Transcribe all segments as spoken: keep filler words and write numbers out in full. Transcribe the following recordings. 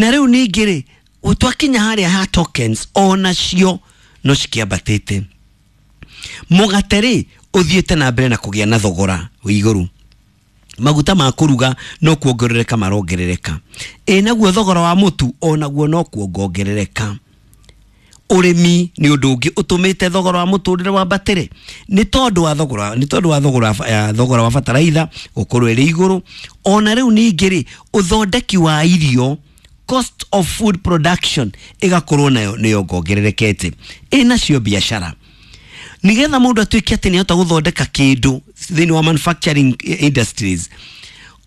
Na rĩu ningĩ rĩ, twakinya harĩa ha tokens, onacio no cikĩambatĩte. Mũgate rĩ, ũthiĩte na mbere na kũgĩa na thogora wĩ igũrũ. Maguta ma kũruga no kuongerereka marongerereka. Ĩ naguo thogora wa mũtu onaguo no kuongongerereka. Ũrĩmi nĩ ũndũ ũngĩ ũtũmĩte thogora wa mũtũrĩre wambatĩre, nĩ tondũ wa thogora, nĩ tondũ wa thogora, ya thogora wa bataraitha gũkorwo ĩrĩ igũrũ. Ona rĩu ningĩ rĩ, ũthondeki wa irio, cost of food production, ĩgakorwo nayo nĩ yongongererekete. Ĩ nacio biacara, nigetha mũndũ atuĩke atĩ nĩahota gũthondeka kĩndũ thĩinĩ wa manufacturing industries,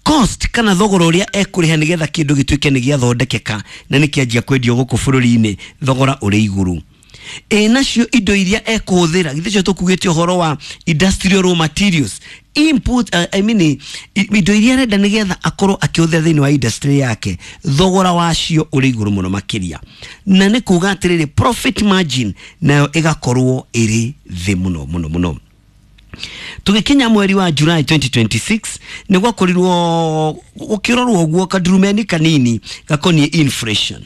cost kana thogora ũrĩa ekũrĩha nĩgetha kĩndũ gĩtuĩke nĩ gĩathondekeka na nĩ kĩanjia kwendio gũkũ bũrũri-inĩ, thogora ũrĩ igũrũ. Ĩ nacio indo iria ekũhũthĩra, githĩ cio tũkugĩte ũhoro wa industrial raw materials input, uh, I mean, indo iria arenda nĩgetha akorwo akĩhũthĩra thĩinĩ wa industry yake, thogora wacio ũrĩ igũrũ mũno makĩria, na nĩ kuga atĩrĩrĩ, profit margin nayo ĩgakorwo ĩrĩ thĩ mũno mũno mũno. Tũgĩkinya mweri wa July twenty twenty-six, nĩ gwakorirwo gũkĩrorwo ũguo kadurumeni kanini gakoniĩ inflation,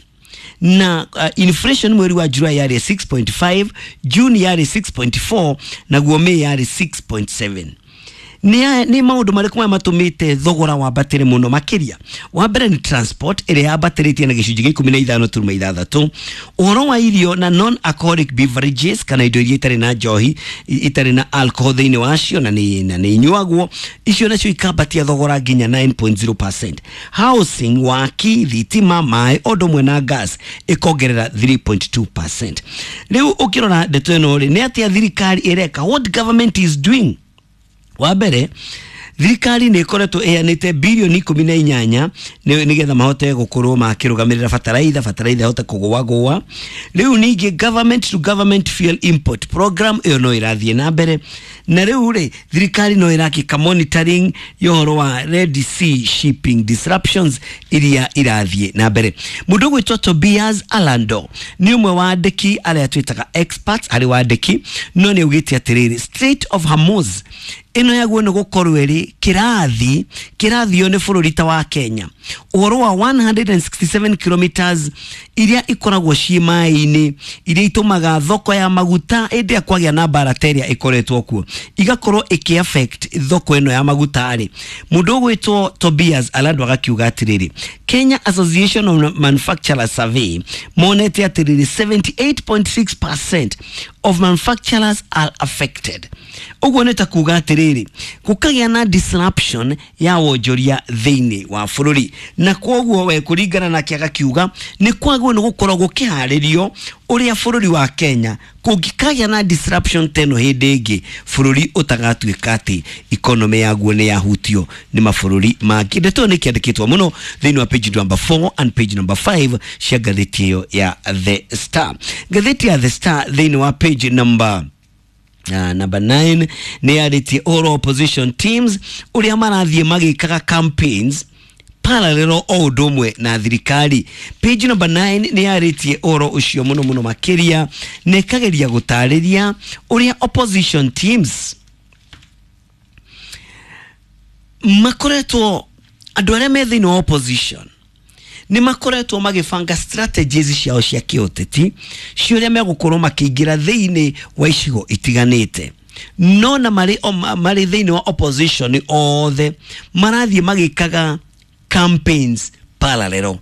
na uh, inflation mweri wa July yarĩ six point five, June yarĩ six point four, naguo May yarĩ six point seven. Nĩ nĩ maũndũ marĩkũ maya matũmĩte thogora wambatĩre mũno makĩria? Wa mbere nĩ transport, ĩrĩa yambatĩrĩtie na gĩcunjĩ gĩa ikũmi na ithano turuma ithathatũ. Ũhoro wa irio na non alcoholic beverages, kana indo iria itarĩ na njohi, itarĩ na alcohol thĩinĩ wacio, na nĩ na nĩ inyuagwo, icio nacio ikambatia thogora nginya nine point zero percent. Housing, waki, thitima, maĩ o ũndũ ũmwe na gas ĩkongerera three point two percent. Rĩu ũkĩrora ndeto ĩno rĩ, nĩ atĩa thirikari ĩreka? What government is doing? Wa mbere, thirikari nĩ ĩkoretwo ĩheanĩte birioni ikũmi na inyanya nĩ nĩgetha mahote gũkorwo makĩrũgamĩrĩra bataraitha, bataraitha ĩhote kũgũagũa. Rĩu ningĩ government to government fuel import program ĩyo no ĩrathiĩ na mbere, na rĩu rĩ, thirikari no ĩrakĩka monitoring ya ũhoro wa Red Sea shipping disruptions iria irathiĩ na mbere. Mũndũ ũgwĩtwo Tobias Alando nĩ ũmwe wa andĩki arĩa twĩtaga experts harĩ wandĩki, no nĩ augĩte atĩrĩrĩ, Strait of Hormuz ĩno yaguo nĩ gũkorwo ĩrĩ kĩrathi kĩrathio nĩ bũrũri ta wa Kenya, ũhoro wa one hundred sixty-seven kilometers iria ikoragwo ciĩ maĩ-inĩ, iria itũmaga thoko ya maguta hĩndĩ ĩrĩa kwagĩa na mbara ta ĩrĩa ĩkoretwo kuo igakorwo ĩkĩ affect thoko ĩno ya maguta rĩ. Mũndũ ũgwĩtwo Tobias Alando agakiuga atĩrĩrĩ, Kenya Association of Manufacturers Survey monete atĩrĩrĩ, seventy-eight point six percent of manufacturers are affected. Ũguo nĩ ta kuga atĩrĩrĩ, gũkagĩa na disruption ya wonjoria thĩinĩ wa bũrũri, na kwoguo we kũringana nake agakiuga nĩ kwagwo nĩ gũkorwo gũkĩharĩrio ũrĩa bũrũri wa Kenya kũngĩkagĩa na disruption teno hĩndĩ ĩngĩ, bũrũri ũtagatuĩka atĩ economy yaguo nĩ yahutio nĩ mabũrũri mangĩ. Ndeto ĩyo nĩ kĩandĩkĩtwo mũno thĩinĩ wa page number four and page number five cia ngathĩti ĩyo ya The Star. Ngathĩti ya The Star thĩinĩ wa page number Uh, number nine nĩ yarĩtie ũhoro opposition teams ũrĩa marathiĩ magĩkaga campaigns parallel o ũndũ ũmwe na thirikari. Page number nine nĩ yarĩtie ũhoro ũcio mũno mũno makĩria, na ĩkageria gũtarĩria ũrĩa opposition teams makoretwo, andũ arĩa me thĩinĩ wa opposition nĩ makoretwo magĩbanga strategies ciao cia kĩũteti cia ũrĩa megũkorwo makĩingĩra thĩinĩ wa icigo itiganĩte, no na marĩ marĩ thĩinĩ wa opposition othe marathiĩ magĩkaga campaigns parallel.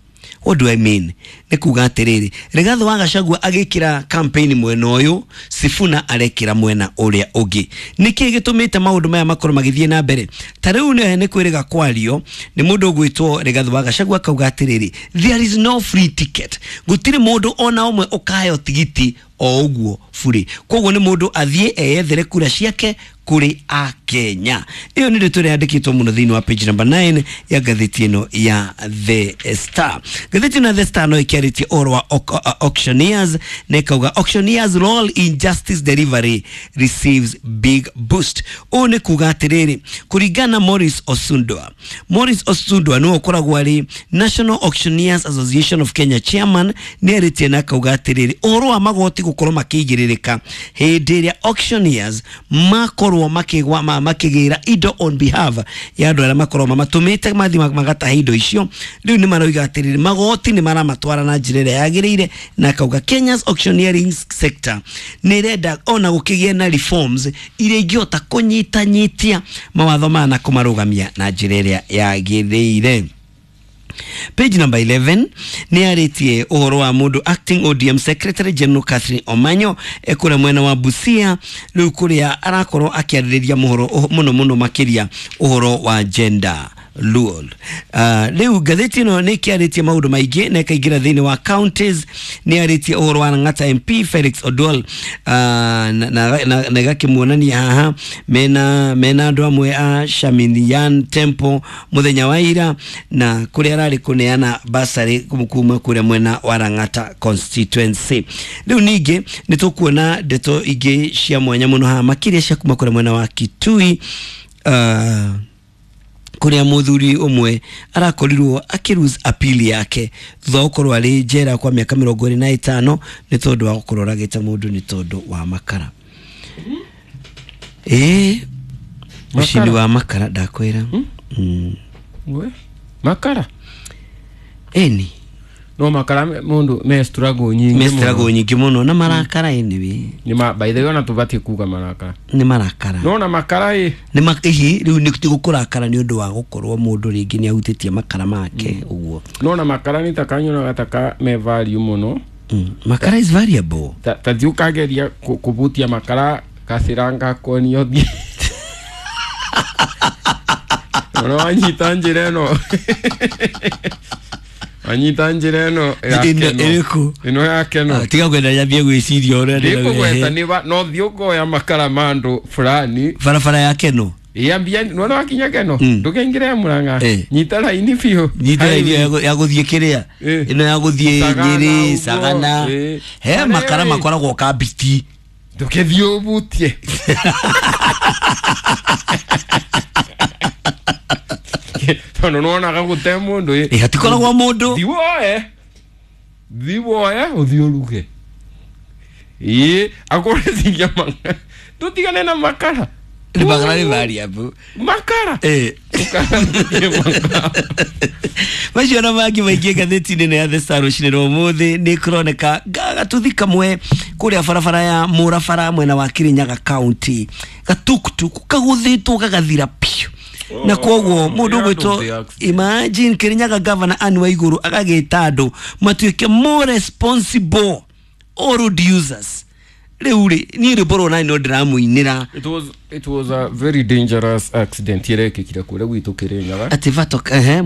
What do I mean? Nĩ kuga atĩrĩrĩ, Rigathĩ wa Gachagua agĩkĩra campaign mwena ũyũ, Sifuna arekĩra mwena ũrĩa ũngĩ. Nĩkĩ gĩtũmĩte maũndũ maya makorwo magĩthiĩ na mbere? Ta rĩu nĩ nĩ kwĩrĩga kwario nĩ mũndũ ũgwĩtwo Rigathĩ wa Gachagua, akauga atĩrĩrĩ, there is no free ticket, gũtirĩ mũndũ ona ũmwe ũkaheo tigiti o ũguo bure, koguo nĩ mũndũ athiĩ eyethere kura ciake kũrĩ akenya. Ĩyo nĩ ndeto ĩrĩa yandĩkĩtwo mũno thĩinĩ wa page number nine ya ngathĩti ĩno ya The Star. Ngathĩti ĩno ya The Star no ĩkĩarĩtie ũhoro wa au- auctioneers na ĩkauga auctioneers role in justice delivery receives big boost. Ũũ nĩ kuga atĩrĩrĩ, kũringana na Morris Osundwa, Morris Osundwa nĩwe ũkoragwo arĩ National Auctioneers Association of Kenya chairman, nĩ arĩtie na akauga atĩrĩrĩ, ũhoro wa magoti gũkorwo makĩigĩrĩrĩka hĩndĩ ĩrĩa auctioneers makorwo makorwo makigwa ma, makigira indo on behalf ya andu aria makorwo mamatumite mathi magataha indo icio riu ni maroiga atiriri magoti ni maramatwara na njira ĩrĩa yagĩrĩire na kauga Kenya's auctioneering sector nĩ ĩrenda ona gũkĩgĩa na reforms iria ingĩhota kũnyitanyitia mawatho maya na kũmarũgamia na njĩra ĩrĩa yagĩrĩire. Page number eleven ni arĩtie ũhoro wa mũndũ acting O D M Secretary General Catherine Omanyo ekũrĩa mwena wa Busia rĩu kũrĩa arakorwo akĩarĩrĩria mũhoro mũno mũno makĩria ũhoro wa gender Luol. Uh, rĩu ngathĩti ĩno nĩ ĩkĩarĩtie maũndũ maingĩ na ĩkaingĩra thĩinĩ wa counties nĩ arĩtie ũhoro wa Lang'ata M P Felix Odwal uh, na, na, na, na ĩgakĩmuonania haha mena mena andũ amwe a Shaminian Temple mũthenya wa ira na kũrĩa ararĩ kũneana basarĩ kuma kũrĩa mwena wa Lang'ata constituency. Rĩu ningĩ nĩ tũkuona ndeto ingĩ cia mwanya mũno haha makĩria cia kuma kũrĩa mwena wa Kitui uh, kuria muthuri umwe arakorirwo akiruse appeal yake thutha wa gukorwo ari njera kwa miaka mirongo ĩrĩ na ĩtano nĩ tondũ wa gukorwo oragĩte mũndũ nĩ tondũ wa makara. Ĩĩ mũcini wa makara ndakwĩra. Mm. We makara eni no makara mundu me struggle nyingi me struggle nyingi muno na marakara anyway ni ma by the way ona tubati kuga marakara ni marakara no na makara i ni makihi riu ni gukurakara ni undu wa gukorwo mundu ringi ni ahutitie makara make uguo no na makara ni takanyona gataka me value muno. Mm. Makara is variable ta ta thiukageria kubutia makara kasiranga konio thi no wanyita njira ĩno wanyita njira ĩno ĩrĩkũ ĩno ya keno tiga kwenda nyambie gwĩciria ũrĩa ndĩkũgweta nĩ no thiĩ ũkoya makara ma andũ fulani barabara ya keno ĩambia nĩwona wakinya keno ndũkaingĩre ya Murang'a nyita raini biũ nyita raini ya gũthiĩ kĩrĩa ĩno ya gũthiĩ Nyĩrĩ Sagana he makara makoragwo kambiti ndũkĩthiĩ ũbutie tondu nwonaga gute mundu ĩ hatikoragwo mundu thi woe thi woe uthi uruge ĩ akoreciria makara tutigane na makara ni makara ni variable makara eh macio na mangĩ maingĩ ngathĩti-inĩ ya The Star rũcinĩ rwa ũmũthĩ nĩ kũroneka gatuthi kamwe kũrĩa barabara ya Mũrabara mwena wa Kirinyaga County gatuktuk kagũthĩtwo gagathira piũ na koguo mundu gwitwo imagine Kirinyaga governor Anne Waiguru agagita andu matuike more responsible all road users riu ri ni rwimbo rwo nani no ndiramuinira. It was it was a very dangerous accident irekikire kuria gwitu Kirinyaga ati vato eh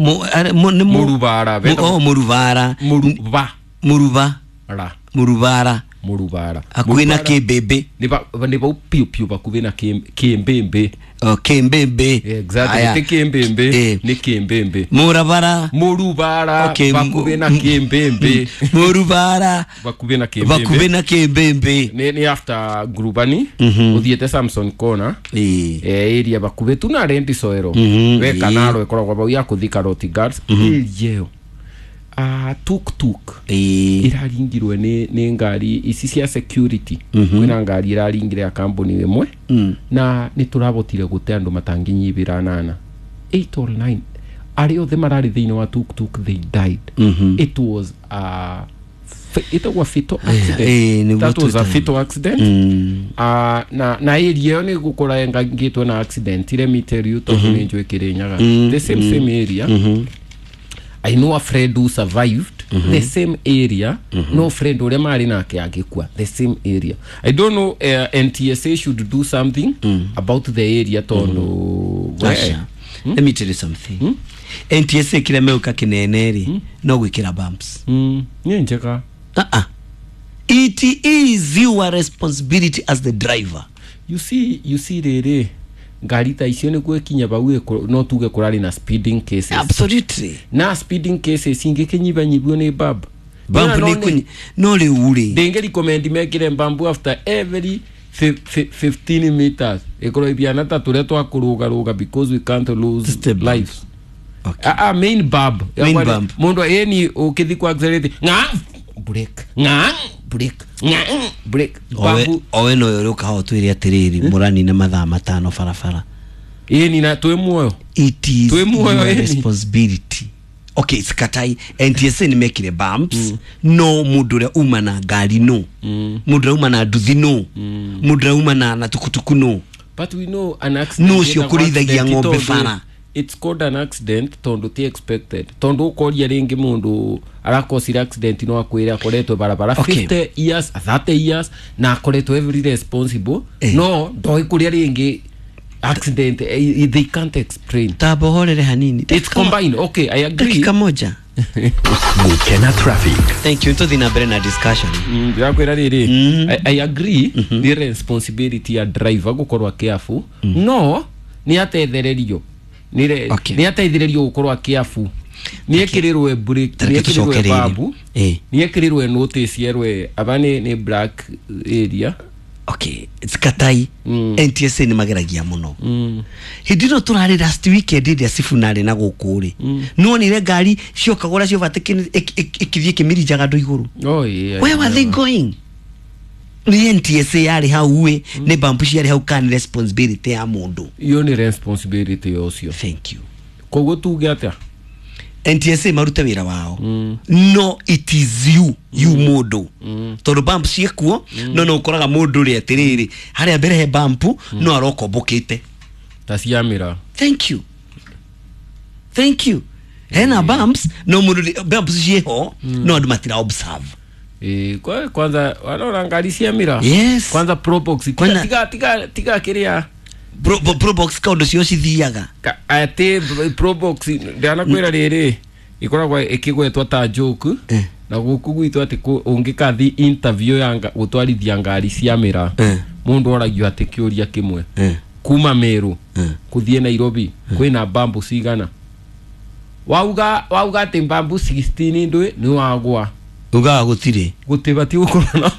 ni Murubara oh Murubara Muruba Muruba ra Murubara Murubara hakuhĩ na Kĩmbĩmbĩ nĩ ba nĩ bau piũ piũ bakuhĩ na Kĩmbĩmbĩ. Oh Kĩmbĩmbĩ exactly ti Kĩmbĩmbĩ nĩ Kĩmbĩmbĩ Murabara Murubara bakuhĩ na Kĩmbĩmbĩ Murubara bakuhĩ na Kĩmbĩmbĩ bakuhĩ na Kĩmbĩmbĩ nĩ nĩ after Grubani uthiĩte Samson Corner eh area bakuhĩ tu na Rendi Soero we kanaro ĩkoragwo bau ya kũthika Roti Guards area ĩyo ah tuk tuk iraringirwe ni ni ngari ici cia security kwina ngari iraringire ya company imwe na ni turabotire gute andu matanginyibira nana eight or nine ari othe marari thiini wa tuk tuk they died. Mm -hmm. It was a it was a fatal accident. Eh, that was a fatal accident. Mm. Uh, na na area ni gukora ngitwe na accident let me tell you tondu ni njwe Kirinyaga the same mm -hmm. same area. Mm -hmm. I know a friend who survived mm -hmm. the same area. Mm -hmm. No friend ule mali nake agikua the same area. I don't know uh, N T S A should do something mm. about the area tondu mm. Well, hmm? Let me tell you something. Hmm? N T S A kila meuka kineneri hmm? No gwikira bumps. Mm. Ni njeka. Uh -uh. It is your responsibility as the driver. You see, you see rere ngari ta icio ni gwekinya bau no tuge kurari na speeding cases. Absolutely. Na speeding cases ingikinyibanyibwo ni bab. Bambu ni kunyi no riu ri. Ndingi recommend mekire bambu after every fifteen meters. Ikorwo ibiana ta turia twakuruga ruga because we can't lose lives. Okay. Ah, ah main bab. Main bump. Mundu eni ukithi kwa accelerate nga break nga break nga break Owe bambu owe no yore ukaho twire atiriri muranine mathaa matano barabara. Ĩni na twĩ muoyo. It is Twĩ muoyo, your ĩni. responsibility. Okay, sikatai N T S A nĩ mekire bumps mm. No mundu uria uma na ngari no mm. Mundu uria uma na nduthi no mm. Mundu uria uma na, na tukutuku no. But we know an accident No ũcio kũrĩithagia ng'ombe bara. It's called an accident tondu ti expected, tondu ukoria ringi mundu arakosire accident no akwire akoretwe barabara Okay. fifty years thirty years na akoretwe every responsible Eh. no ndoi kuria ringi accident eh, they can't explain. Tamba horere hanini. It's combined. Okay, I agree. Dakika moja. Gukena traffic. Thank you. Tuthi na mbere na discussion. Mm, ndirakwira riri I, I agree ni responsibility ya driver gukorwa careful no ni atethererio ni re- Okay. ni atethererio gukorwa careful ni ekirirwe brake Tareke ni ekirirwe tũcoke rĩrĩ. babu Eh. ni ekirirwe notice yerwe aba ni ni black area. Okay, sikatai Mm. N T S A nĩ mageragia mũno. Mm. Hĩndĩ ĩno tũrarĩ last weekend ĩrĩa Sifuna arĩ na gũkũ rĩ, nĩwonire ngari ciokagũra ciovatĩkĩ ĩkĩthiĩ ĩkĩmĩrinjaga andũ igũrũ. Oh yeah. Where were they going? Nĩ N T S A yarĩ hau ĩ, nĩ bambu ciarĩ hau kana nĩ responsibility ya mũndũ? Iyo ni responsibility yocio. Thank you. Koguo tuge atia? N T S A marute wĩra wao. No it is you, you mũndũ. Tondũ bump ciĩkuo, no no ũkoraga mũndũ rĩ atĩrĩrĩ, harĩa mbere he bump, no arokombokĩte. Ta ciamĩra. Thank you. Thank you. Hena bumps, no mũndũ rĩ- bumps ciĩho, no andũ matira observe. Eh, kwa kwanza wanaona ngari ciamĩra. Yes. Kwanza Probox tiga Kwanza- tiga tiga, tiga kiria Pro, pro, Probox kaũndũ cio cithiaga. Ka- ati Probox ndanakwira riri ikoragwo ikigwetwo ta joke Eh. na guku gwitũ ati ũngĩkathi interview ya nga- gũtwarithia ngari cia mĩra Eh. mũndũ oragio atĩ kĩũria kĩmwe Eh. kuma Meru Eh. kũthiĩ Nairobi kwĩna bambu cigana wauga wauga atĩ bambu sixteen ndwĩ nĩ wagwa Ugaga gũtirĩ. gũtibatiĩ gũkorwo na